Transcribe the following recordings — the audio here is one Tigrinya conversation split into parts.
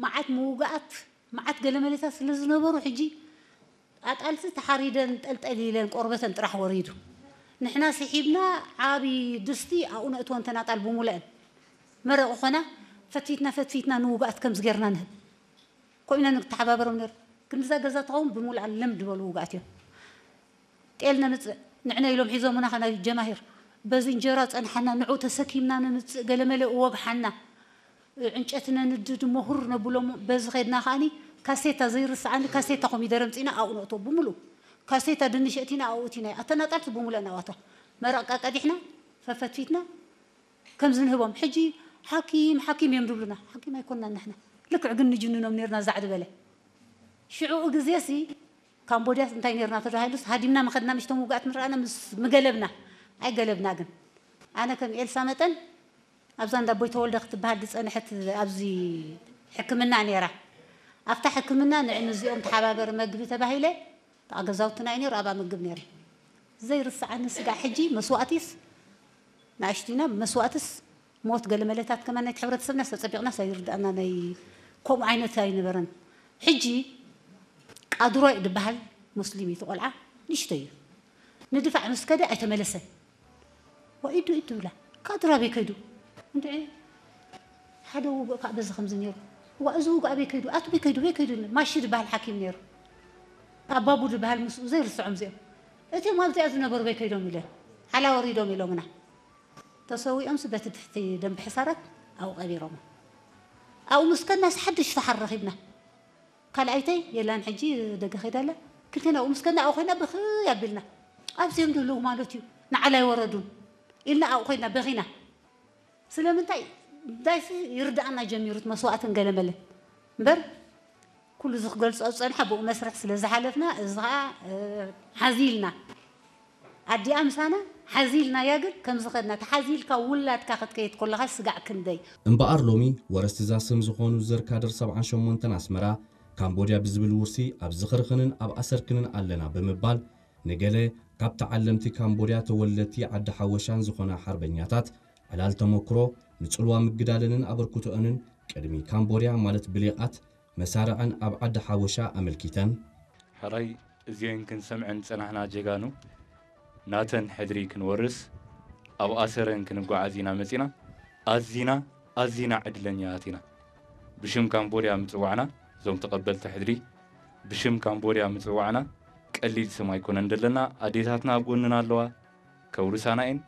መዓት ምውጋኣት፣ መዓት ገለመለታት ስለ ዝነበሩ፣ ሕጂ ኣጣልሲ ተሓሪደን ጠልጠል ኢለን ቆርበተን ጥራሕ ወሪዱ። ንሕና ስሒብና ዓቢ ድስቲ ኣብኡ ነእትወን ተናጣል ብምሉአን። መረቕ ኾና ፈትፊትና ፈትፊትና ንውጋኣት ከምዚ ጌርና ንህብ። ኮይና ንተሓባበሮም ነር። ክንድዛ ገዛ ትኸውን ብምሉኣ ልምድ በሉ ውጋኣት እዮም። ጤል ነምጽእ ንዕነ ኢሎም ሒዞምና ኸና ጀማሂር። በዚ እንጀራ ጸንሓና፣ ንዑ ተሰኪምና ነምጽእ፣ ገለመለ እወግሓና። ዕንጨት ነንድድ እሞ ሁር ነብሎም። በዚ ኸድና ከኣኒ ካሴታ ዘይርስዓኒ ካሴታ ኮሚደረ ምጺና ኣብኡ ነእቶ ብምሉ። ካሴታ ድንሽ እቲና ኣብኡ እቲና። ኣተናጣልቲ ብምሉአን ኣብኣቶ። መረቕቃ ቀዲሕና፣ ፈፈትፊትና፣ ከምዚ ንህቦም። ሕጂ ሓኪም፣ ሓኪም እዮም ድብሉና። ሓኪም ኣይኮንናን ንሕና። ልክዕ ግን ንጅንኖም ነርና ዛዕዲ በለ። ሽዑ ግዜሲ ካምቦድያስ እንታይ ነርና ተባሂሉስ ሃዲምና መኸድና ምሽቶም ውጋኣት ንረኣና ምስ ምገለብና። ኣይገለብና ግን። ኣነ ከም ኤልሳ መጠን ኣብዛ እንዳ ኣቦይ ተወልደ ክትበሃል ዝጸንሐት ኣብዚ ሕክምና ነይራ። ኣብታ ሕክምና ንዕ ንዚኦም ተሓባበሪ መግቢ ተባሂለ፣ ኣብ ገዛውትና እዩ ነይሩ፣ ኣብኣ ምግብ ነይረ። ዘይርስዓኒ ስጋዕ ሕጂ መስዋእቲስ ንኣሽቱና መስዋእትስ ሞት ገለ መለታት ከማን ናይቲ ሕብረተሰብና ዝተጸቢቕና ሳይርድኣና ናይ ከምኡ ዓይነት ኣይነበረን። ሕጂ ቃድሮ ዝበሃል ሙስሊም እዩ፣ እቲ ቆልዓ ንእሽቶ እዩ። ንድፋዕ ምስ ከደ ኣይተመለሰን። ወኢዱ ኢድ ትብላ። ቃድሮ ኣበይ ከይዱ? እንድዒ ሓደ ውግእ ከዓ በዚ ከምዚ ነይሩ። ዋ፣ እዚ ውግእ ኣበይ ከይዱ? ኣቱ በይ ከይዱ? በይ ከይዱ? ማሺ ዝበሃል ሓኪም ነይሩ። ኣባቡ ዝበሃል ምስኡ ዘይርስዖም እዚኦም። እቲኦም ኣብዚኣ ዝነበሩ በይ ከይዶም ኢለ። ሓላ ወሪዶም ኢሎምና። ተሰዊኦምስ በቲ ትሕቲ ደንብ ሕሳራት ኣብኡ ቀቢሮሞ። ኣብኡ ምስ ከድናስ ሓድሽ ፈሓር ረኺብና። ካልኣይተይ የላን ሕጂ ደገ ከይዳ ኣላ። ክልቴና ኣብኡ ምስ ከድና ኣብኡ ኮይና ብኽይ ኣቢልና። ኣብዚኦም ዘለዉ ማለት እዩ ንዓል ኣይወረዱን ኢልና ኣብኡ ኮይና በኺና። ስለምንታይ? ዳይሲ ይርድኣና ጀሚሩት መስዋእትን ገለመለን እምበር ኩሉ እዚ ክገልጾ ዝጸንሐ ብኡ መስርሕ ስለ ዝሓለፍና እዚ ኸኣ ሓዚልና ኣዲኣ ምሳና ሓዚልናያ። ግን ከምዚ ኸድና ተሓዚልካ ውላድካ ክትከይድ ከለኻ ስጋዕ ክንደይ። እምበኣር ሎሚ ወረስቲ እዛ ስም ዝኾኑ ዝር ካድር ሰብዓን ሸሞንተን ኣስመራ ካምቦድያ ብዝብል ውርሲ ኣብ ዝኽርኽንን ኣብ ኣሰርክንን ኣለና ብምባል ንገለ ካብ ተዓለምቲ ካምቦድያ ተወለድቲ ዓዲ ሓወሻን ዝኾና ሓርበኛታት ዕላል ተመክሮ ንጽልዋ ምግዳለንን ኣበርክቶኦንን ቅድሚ ካምቦድያ ማለት ብሌቓት መሳርዐን ኣብ ዓዲ ሓወሻ ኣመልኪተን። ሕራይ እዚኤን ክንሰምዐን ዝጸናሕና ጀጋኑ ናተን ሕድሪ ክንወርስ ኣብ ኣሰረን ክንጓዓዝ ኢና መጺና። ኣዚና ኣዚና ዕድለኛታት ኢና። ብሽም ካምቦድያ ምጽዋዕና እዞም ተቐበልቲ ሕድሪ ብሽም ካምቦድያ ምጽዋዕና ቀሊል ስም ኣይኮነን ዘለና። ኣዴታትና ኣብ ጎንና ኣለዋ ከውርሳና እየን።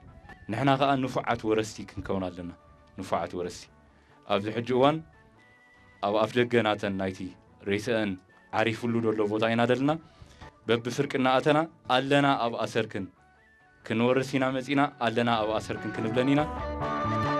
ንሕና ከኣ ንፉዓት ወረስቲ ክንከውን ኣለና። ንፉዓት ወረስቲ ኣብዚ ሕጂ እዋን ኣብ ኣፍደገ ናተን ናይቲ ሬሰአን ዓሪፉሉ ዘሎ ቦታ ኢና ደልና። በብፍርቂ እናኣተና ኣለና ኣብ ኣሰርክን ክንወርስ ኢና መጺና ኣለና ኣብ ኣሰርክን ክንብለን ኢና።